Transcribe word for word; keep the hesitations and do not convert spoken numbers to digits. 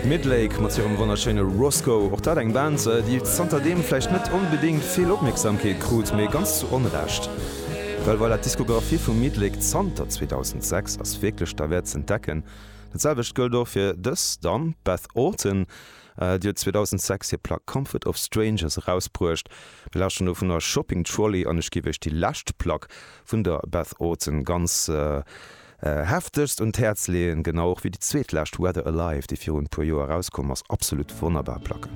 Midlake mat hirem wonnerschéine Roscoe, och dat eng Band, déi zanterdeem vläicht net onbedéngt vill Opmierksamkeet krut, mee ganz zu Onrecht. Well voilà, d'Diskografie vu Midlake zanter zweedausendsechs ass wierklech derwäert z'entdecken. Dat selwecht gëllt och fir dës Damm, d'Beth Orton. Déi huet zweedausendsechs hir Plack Comfort of Strangers erausbruecht. Mir lauschteren dovunner Shopping Trolley an ech géif iech déi lescht Plack vun der Beth Orton ganz heftegst un d'Häerz leeën, genau och wéi déi zweetlescht Weather Alive, déi virun e puer Joer erauskomm ass. Absolut wonnerbar Placken.